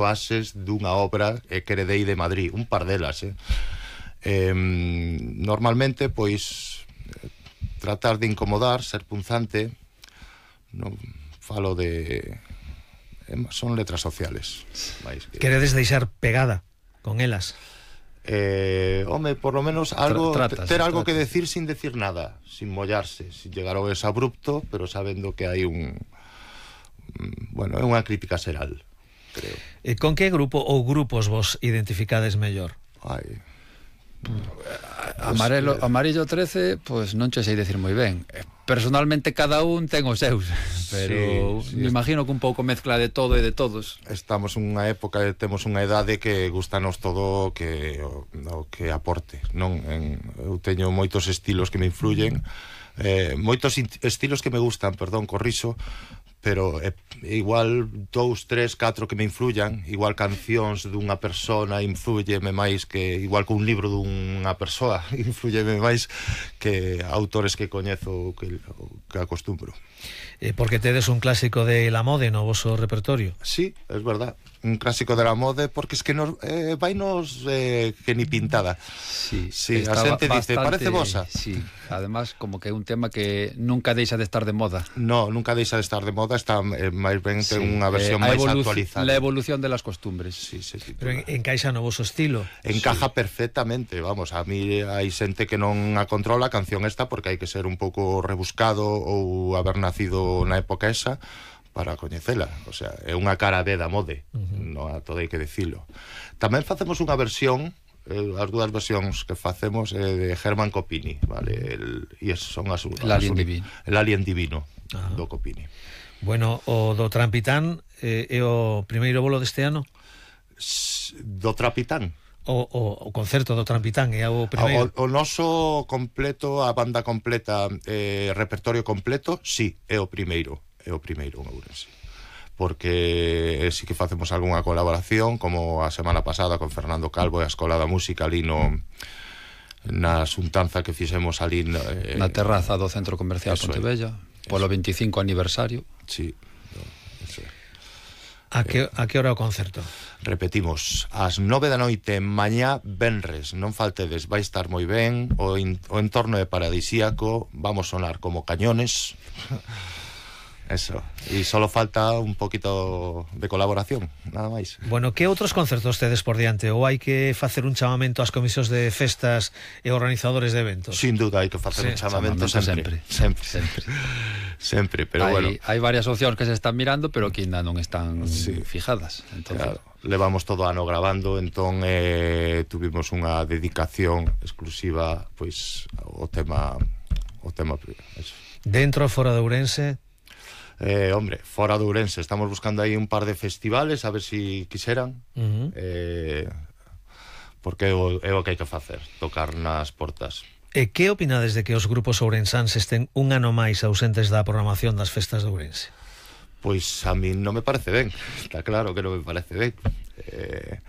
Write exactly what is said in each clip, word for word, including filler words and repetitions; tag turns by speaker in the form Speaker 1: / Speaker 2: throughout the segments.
Speaker 1: bases dunha obra eh, que heredei de Madrid, un par delas, eh. Eh, normalmente, pois, tratar de incomodar, ser punzante, non falo de... son letras sociales.
Speaker 2: Que... Queredes deixar pegada con elas?
Speaker 1: Eh, home, por lo menos algo,
Speaker 3: Tra tratas,
Speaker 1: ter algo
Speaker 3: tratas.
Speaker 1: que decir sin decir nada, sin mollarse, sin llegar ao exabrupto, pero sabendo que hai un... bueno, é unha crítica xeral, creo.
Speaker 2: E con que grupo ou grupos vos identificades mellor?
Speaker 1: Ai...
Speaker 3: Amarelo, Amarillo trece, pois non che sei decir moi ben. Personalmente cada un ten os seus, pero sí, sí, me imagino que un pouco mezcla de todo e de todos.
Speaker 1: Estamos nunha época, temos unha edade que gustanos todo que o, o que aporte, non? En, eu teño moitos estilos que me influyen, eh, moitos estilos que me gustan, perdón, corrixo, pero é igual dous, tres, catro que me influyan, igual cancións dunha persona influyeme máis que igual que un libro dunha persoa influyeme máis que autores que coñezo que, que acostumbro.
Speaker 2: Eh, porque tedes un clásico de la mode no voso repertorio?
Speaker 1: Sí, es verdad, un clásico de la mode, porque es que nos, eh, vainos eh, que ni pintada.
Speaker 3: Sí,
Speaker 1: sí, a xente dice, parece bosa.
Speaker 3: Sí, además como que é un tema que nunca deixa de estar de moda.
Speaker 1: No, nunca deixa de estar de moda, está eh, máis ben ten
Speaker 3: sí,
Speaker 1: unha versión
Speaker 3: eh,
Speaker 1: máis actualizada.
Speaker 3: La evolución de las costumbres.
Speaker 1: Sí, sí, sí,
Speaker 2: pero en, encaixa no voso estilo.
Speaker 1: Encaja
Speaker 2: sí.
Speaker 1: perfectamente, vamos, a mí hai xente que non a controla a canción esta porque hai que ser un pouco rebuscado ou haber nacido na época esa para coñecela, o sea, é unha cara B da mode, uh-huh. No a todo hai que dicilo. Tamén facemos unha versión, eh, as dúas versións que facemos eh, de Germán Copini, vale, el, e son as,
Speaker 3: el Alien Divino.
Speaker 1: El Alien Divino,
Speaker 2: uh-huh.
Speaker 1: do Copini.
Speaker 2: Bueno, o do Trampitán eh, é o primeiro bolo deste ano?
Speaker 1: Do Trampitán?
Speaker 2: O, o, o concerto do Trampitán é o primeiro?
Speaker 1: O, o noso completo, a banda completa, eh, repertorio completo, sí, é o primeiro, é o primeiro en Ourense. Porque eh, sí que facemos algunha colaboración, como a semana pasada con Fernando Calvo e a Escola da Música ali no na xuntanza que fixemos ali eh,
Speaker 3: na terraza do Centro Comercial Pontevella, polo veinticinco aniversario.
Speaker 1: Sí, no, eso é.
Speaker 2: A que, a que hora o concerto?
Speaker 1: Repetimos, ás nove da noite mañá venres, non faltedes, vai estar moi ben, o, in, o entorno é paradisíaco, vamos sonar como cañones. Eso, e solo falta un poquito de colaboración, nada máis.
Speaker 2: Bueno, que outros concertos tedes por diante? Ou hai que facer un chamamento ás comisións de festas e organizadores de eventos?
Speaker 1: Sin duda, hai que facer sí, un chamamento, chamamento sempre. Sempre, sempre. sempre, pero
Speaker 3: hai,
Speaker 1: bueno.
Speaker 3: Hai varias opcións que se están mirando, pero que ainda non están sí. fijadas.
Speaker 1: Entonces, claro, levamos todo ano grabando, entón eh, tuvimos unha dedicación exclusiva, pois, ao tema, ao tema eso.
Speaker 2: Dentro ou fora de Ourense?
Speaker 1: Eh, hombre, fora de Ourense estamos buscando aí un par de festivales a ver si quixeran uh-huh. eh, porque é o, é o que hai que facer, tocar nas portas.
Speaker 2: E que opinades de que os grupos ourensáns estén un ano máis ausentes da programación das festas de Ourense?
Speaker 1: Pois a mí non me parece ben, está claro que non me parece ben, eh,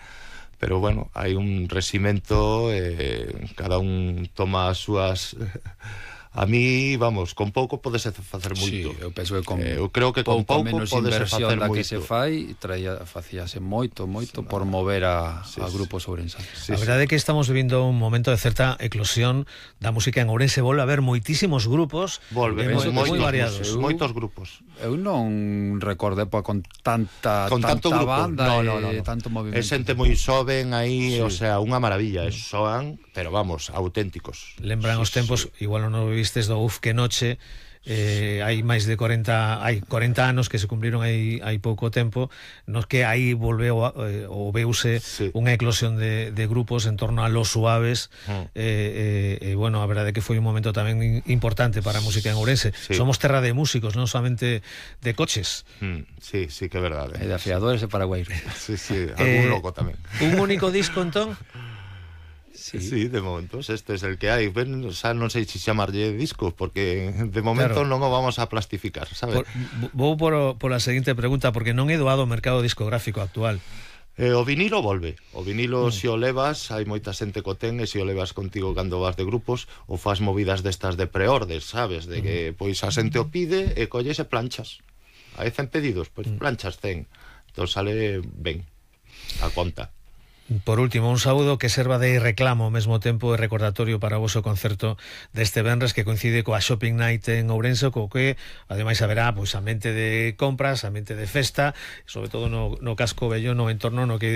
Speaker 1: pero bueno, hai un reximento, eh, cada un toma as súas... A mí, vamos, con pouco podese facer moito.
Speaker 3: Sí, eu penso que con
Speaker 1: eh, eu creo que con
Speaker 3: pouco
Speaker 1: pouco
Speaker 3: menos
Speaker 1: podese
Speaker 3: inversión
Speaker 1: facer
Speaker 3: da
Speaker 1: moito.
Speaker 3: que se fai, traía, facíase moito, moito sí, por mover a, sí, a grupos ourensáns.
Speaker 2: Sí, a verdade é que estamos vivindo un momento de certa eclosión da música en Ourense, volve a haber moitísimos grupos,
Speaker 1: volve,
Speaker 2: eh,
Speaker 1: moitos,
Speaker 2: moi variados.
Speaker 1: Eu, moitos grupos.
Speaker 3: Eu non recordo época con tanta
Speaker 1: con tanto
Speaker 3: tanta
Speaker 1: grupo.
Speaker 3: banda
Speaker 1: No, no, no,
Speaker 3: e
Speaker 1: no.
Speaker 3: tanto movimento.
Speaker 1: É xente moi xoven aí, sí. O sea, unha maravilla,
Speaker 2: Mm.
Speaker 1: soan, pero vamos, auténticos.
Speaker 2: Lembran
Speaker 1: sí,
Speaker 2: os tempos,
Speaker 1: sí.
Speaker 2: igual non o vistes do Uf que noche, eh, hai máis de corenta, hai corenta anos que se cumpriron hai, hai pouco tempo, nos que aí volveu eh, ou veuse sí. unha eclosión de, de grupos en torno a Los Suaves, mm. eh, eh, e bueno, a verdade é que foi un momento tamén importante para a música en Ourense. Sí. Somos terra de músicos, non solamente de coches.
Speaker 1: Mm, sí, sí que é verdade.
Speaker 3: E de afiadores e paraguairos.
Speaker 1: Sí, sí, algún
Speaker 2: eh,
Speaker 1: loco tamén.
Speaker 2: Un único disco, entón?
Speaker 1: Sí. sí, de momento, este es el que hai. Ben, o sea, non sei se chamarlle disco, porque de momento claro. non o vamos a plastificar, sabes?
Speaker 2: Por, vou por, por a seguinte pregunta, porque non é doado o mercado discográfico actual.
Speaker 1: Eh, o vinilo volve. O vinilo, mm. se o levas, hai moita xente co ten, e se o levas contigo cando vas de grupos, ou faz movidas destas de preordes, sabes? De que, pois, a xente o pide e colles e planchas. Hai cen pedidos, pois mm. planchas cen. Entón sale ben. a conta.
Speaker 2: Por último, un saúdo que serva de reclamo ao mesmo tempo e recordatorio para o voso concerto deste venres que coincide coa Shopping Night en Ourense, co que ademais haberá pois, ambiente de compras, ambiente de festa, sobre todo no, no casco vello, no entorno no que